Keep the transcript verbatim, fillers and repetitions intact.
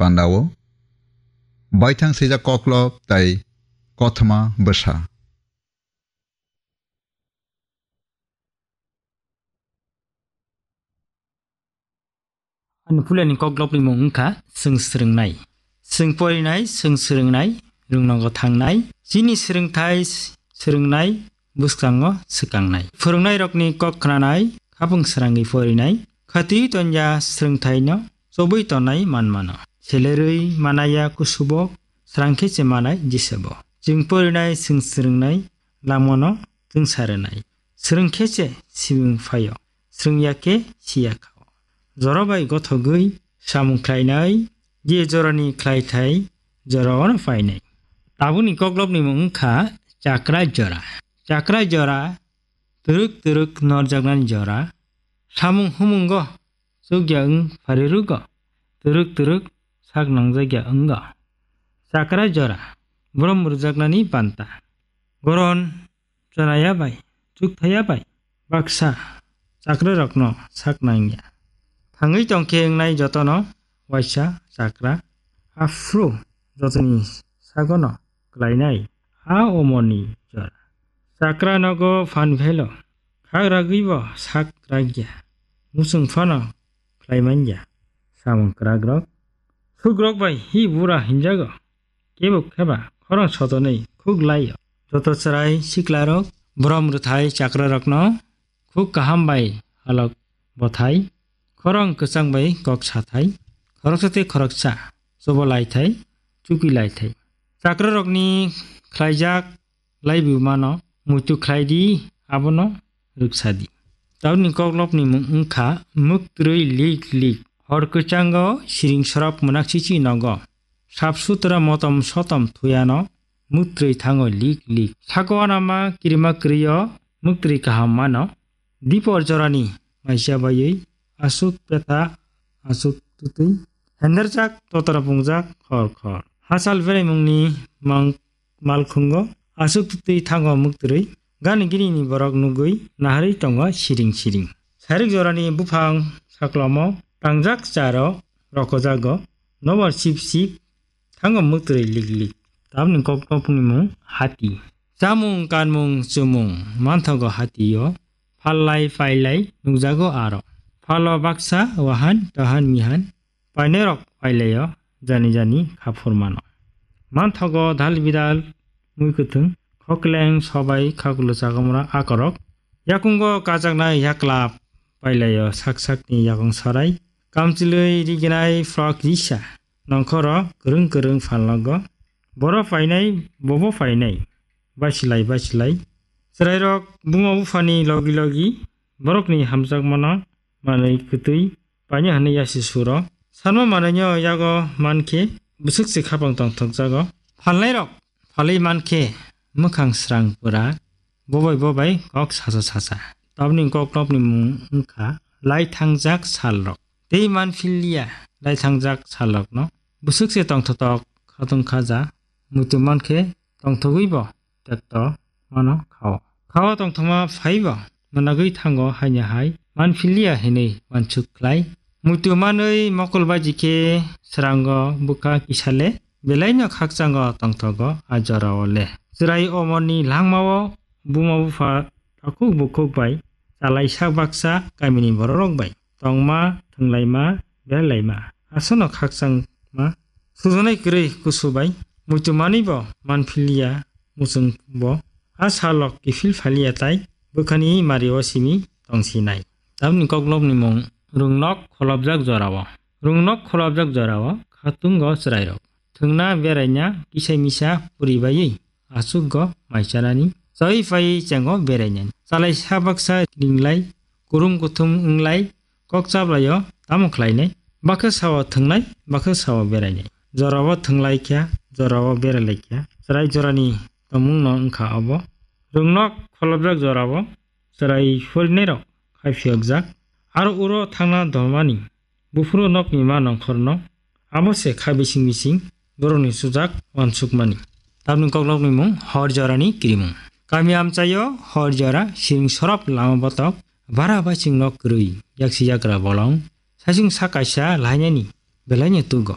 Pandao baithang swijak koklop tei kothoma bwsa. Ani puilani koklopni mung wngkha chwng swrwngnai. Chwng porinai, chwng swrwngnai, rwngnogo thangnai. Chini swrwngthai swrwngnai, bwskango swkangnai. Phwrwngnairokni kok khnanai, khapung srangwi porinai. Khatiwi tongya swrwngthaino chobwi tongnai manmano. Selerwi manaya kusubok, srang khe se manai jisebo. Chwng porinai, chwng swrwngnai, lamano chwngsa rwnai. Swrwng khe se simung phaio, swrwngya khe siya khao. Jora bai gothogwi samung khlainai, je jorani khlaithai, jora ono phainai. Tabukni koklopni mung wngkha chakra jora. Chakra jora, twrwk twrwk norjaknani jora. Samung humungo chukya wng pharirugo, twrwk twrwk sak nangjakya wngo. Chakra jora, borom rwjaknani banta. Goron chonaya bai, chukthaya bai, baksa chakrarokno sak nangya. Thangwi tongkhe wngnai jotono waisa chakra, aphuru jotoni sagono klainai, a omorni jora. Chakra nogo phan phelo, khak ragwibo sak ragya, muchung phano khlai manya samung kwrakrok. Sukrok bai hi bura hinjago, kebo kheba khorang sotonwi khuk laio. Joto chwrai siklarok, borom rwthai chakrarokno khuk kaham bai halok bothai, khorang kwchang bai kok sathai, khoroksa tei khoroksa chobo laithai, chukwi laithai. Chakrarokni khlaijak laibu mano, muitu khlai di, abono rwksa di. Tabukni koklopni mung wngkha mwktwrwi lik lik. Hor kwchango siring sorop mwnak chichi nogo. Sap sutra motom sotom thuyano mwktwrwi thango lik lik. Sako anama kirima kwrwio mwktwrwi kaham mano. Dipor jorani maisa baiwi aswk petha aswk twtwi. Henderjak totra pungjak khor khor. Hachal beraimungni mang malkhungo aswk twtwi thango mwktwrwi, gani gini ni borok nugwi naharwi tongo siring siring. Sarik jorani buphang saklomo tangjak charo rokojago, nobar sip sip thango mwktwrwi lik lik. Tamni kok topni mung hati. Chamung kanmung chumung manthogo hatio, phallai pailai nukjago aro. Phalo baksa wahan tohan mihan painairok pailaio, jani jani kha phurmano. Manthogo dal bidal mui kwthwng, khokleng sobai khakulo chagamra akorok. Yakungo kajaknai yaklap pailaio sak sakni yakung sarai. Kamchilwi riginai frok risa. Nongkhoro kwrwng kwrwng phalnogo. Boro phainai, bobo phainai. Basilai basilai. Chwrairok buma buphani logi logi borokni hamjakmano manwi kwtwi painai hwnwi yasi suro. Sanma manwino yago mankhe bwswk se khapang tongthokjago. Phalnairok phalwi mankhe mwkhang srang pura, bobai bobai kok sacha sacha. Tabukni koklopni mung wngkha laithangjak salrok. Tei manphilya laithangjak salrokno bwswk se tongthotok khatung khaja, muitu mankhe tongthogwibo tekto mano khao. Khao tongthoma phaibo managwi thango haino hai manphilya hinwi wansuk khlai. Muitu manwi mokol baji khe srango bwkha kisale belaino khakchango tongthogo a jorao le. Chwrai omorni langmao buma bupha takhuk bukhuk bai chalaisa baksa kamini bororok bai tongma, thwnglaima, berlaima, aswkno khakchangma, sujaknai kwrwi kusu bai muitu manwibo manphiliya, muchungbo a salrok kiphil phaliya tai bwkhani mario simi tongsinai. Tamni koklopni mung rwngnok kholopjak jorao. Rwngnok kholopjak jorao khatungo chwrairok thwngna beraina kisa misa puri baiwi aswkgo maichanani, chawi phaiwi chengo berainani. Chalaisa baksa ringlai, kurum kuthum wnglai, kok chaplaio tamo khlainai? Bakhe sao thwngnai, bakhe sao berainai. Jorao thwnglai kha, jorao beralai kha. Chwrai jorani tongmungno wngkha obo. Rwngnok kholopjak jorao chwrai phorinai rok khai phiyokjak. Aro uro thangna dolmani buphuru nokni ma nongkhorno abo se kha bising bising borokni sujak wansukmani. Tamni koklopni mung hor jorani kirimung. Kami amchaio hor jora siring sorop lama botok bara baching nok kwrwi yaksi yagra bolong saichung sa kaisa lainani belaino tugo.